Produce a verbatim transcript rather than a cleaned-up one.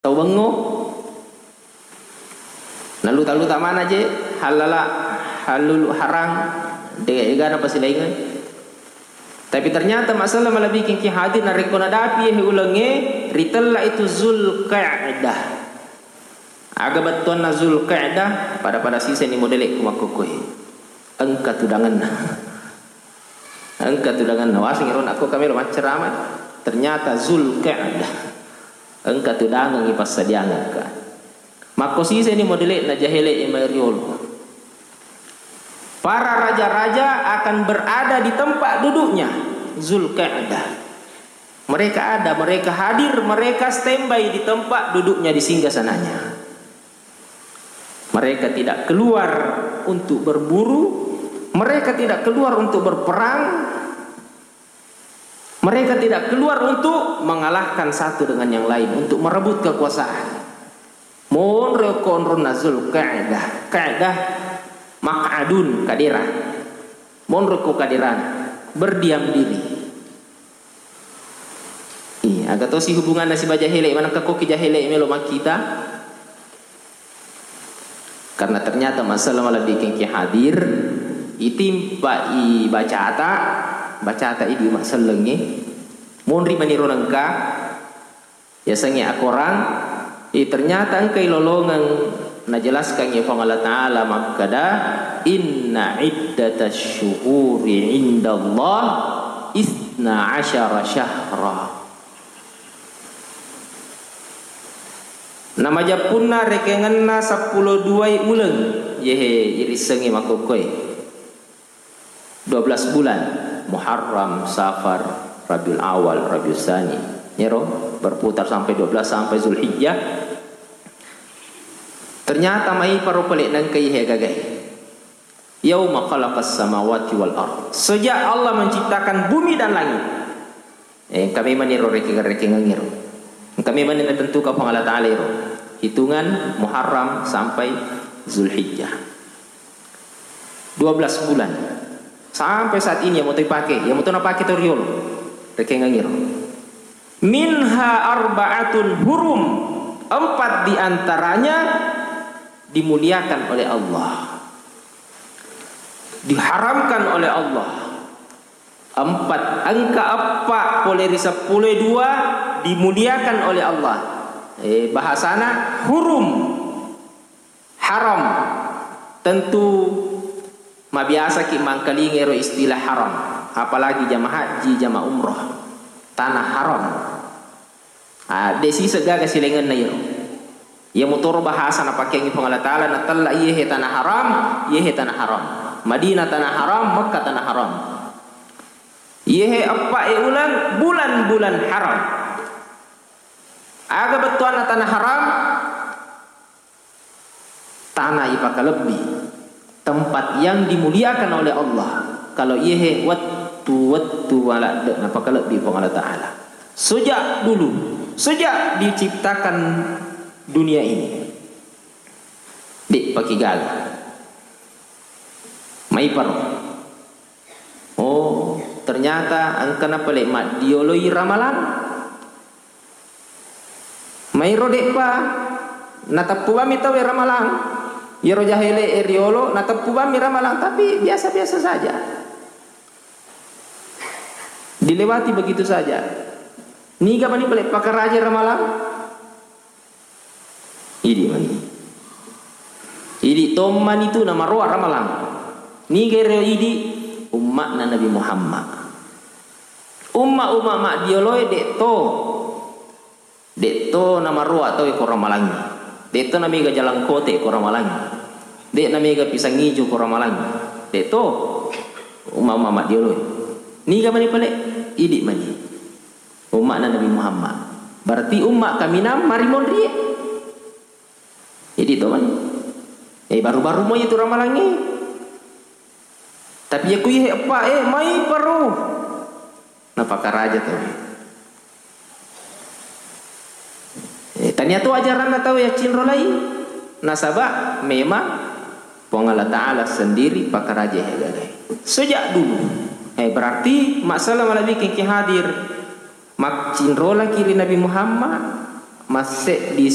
tau bengngo. Naluta-luta mana je, halala, halulu, harang, de egana pasilaingeng. Tapi ternyata masalah malebbi kengki hadir narekko nadapi he ulengnge, ritella itu Zulqa'dah. Aga bettuanna Zulqa'dah, pada-pada siseni modele'ku makkokkoe. Engka tudangenna. Engka tudangenna. Waseng ero nakko kamelo maccerama. Ternyata Zulqa'dah. Engka tudangengngi passadiangekka. Makko siseni modele'na jahele'e mai riolo. Para raja-raja akan berada di tempat duduknya Zulqa'dah. Mereka ada, mereka hadir, mereka standby di tempat duduknya, di singgasananya. Mereka tidak keluar untuk berburu, mereka tidak keluar untuk berperang, mereka tidak keluar untuk mengalahkan satu dengan yang lain, untuk merebut kekuasaan. Monro ko onronna Zulqa'dah, Qa'dah, maq'adun, kadera. Monro ko kaderana, berdiam diri. Iya, aga tosi hubunganna sibawa jahele, manengka koki jahele melo makkita. Karena ternyata masalah malebbi kengki hadir, itimpa i bacata, bacata idi massellengnge, monri maniro nengka, yasengnge akorang, i ternyata engkai lolongeng najelaskangngi Puang Allah Ta'ala makkeda, "Inna iddatasy syuhuri indallah isna asyara syahra." Namajappunna rekengenna seppulo duai uleng, yehe irissengngi makkokkoe. Dua belas bulan, Muharram, Safar, Rabiul Awal, Rabiul Tsani. Yero berputar sampai dua belas sampai Zulhijjah. Ternyata maiparo pale nengka ihe gagae. Yauma khalaqas samawati wal ard. Sejak Allah menciptakan bumi dan langit. Eh, engka memang ero rekeng-rekengeng ero. Engka memang natentukan Puang Allah Ta'ala ero. Hitungan Muharram sampai Zulhijjah. Dua belas bulan. Sampai saat ini, iya moto ipake, iya moto napake to riolo. Rekengeng ero. Minha arba'atun hurum. Empat di antaranya dimuliakan oleh Allah. Diharamkan oleh Allah. Empat, engka eppa pole ri seppulo dua dimuliakan oleh Allah. Eh, bahasana hurum, haram. Tentu mabiasaki mangkalinga ero istilah haram, apalagi jamaah haji, jamaah umroh. Tanah haram. Ah, de siseng gaga silaingenna iyaro. Iya motoro bahasa napakeangngi Puang Allah Ta'ala, natella iyehe tanah haram, iyehe tanah haram. Madinah tanah haram, Mekka tanah haram. Iyehe eppa e uleng, bulan-bulan haram. Aga bettuanna tanah haram? Tanah ipakalebbi, tempat yang dimuliakan oleh Allah. Kalau iyehe wettu-wettu waladde napakalebbi Puang Allah Ta'ala. Sejak dulu, sejak diciptakan dunia ini. De paki gaga. Maiparo. Oh, ternyata engkana pale maddioloi ramalang. Mairo de'pa nateppu bammi tauwe ramalang. Iyaro jahele'e riolo nateppu bammi ramalang, tapi biasa-biasa saja. Dilewati begitu saja. Niga mani pale pakaraja ramalang? Idi mani. Idi tommani tu namaroa ramalang. Niga ero idi? Umma'na Nabi Muhammad. Umma-umma maddioloe de'to, de'to namaroa tauwe ko ramalangngi. De'to namega jalangkote ko ramalangngi. De namega pisang ijo ko ramalangngi. De'to umma-umma maddioloe. Niga mani pale? Idi mani. Umma'na Nabi Muhammad. Berarti umma kaminang marimonrie. Idi to mani. Eh, baru-baru moi itu ramalangngi. Tapi iya ku iyehe eppa e, maiparo. Napakaraja tauwe. Eh, tania to ajaranna tauwe yaccinrolai. Nasaba memang Puang Allah Ta'ala sendiri pakaraja iyehe gagae. Sejak dulu. Eh, berarti masalah malebbi kengki hadir. Maccinrolaki ri Nabi Muhammad, masseddi